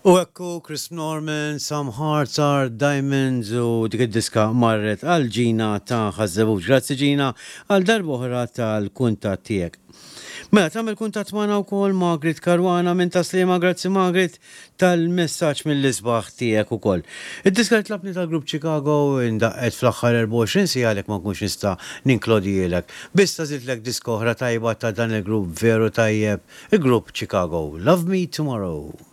U ekku Chris Norman, Some Hearts Are Diamonds u dik id-diska marret għal Gina ta' Ħaż-Żebbuġ. Grazzi Gina għal darb'oħra tal-kuntatt tiegħek. Mela tagħmel kuntatt magħna wkoll Margaret Caruana minn Tas-Sliema, grazzi Margaret tal-messaġġ mill-isbaħ tiegħek ukoll. Id-diska li tlabni tal-grupp Chicago indaqqet fl-aħħar 24 siegħa għalhekk ma nkunx nista' ninklodihielek. Biss għażiltlek diska oħra tajba ta' dan il-grupp veru tajjeb, il-grupp Chicago. Love Me Tomorrow.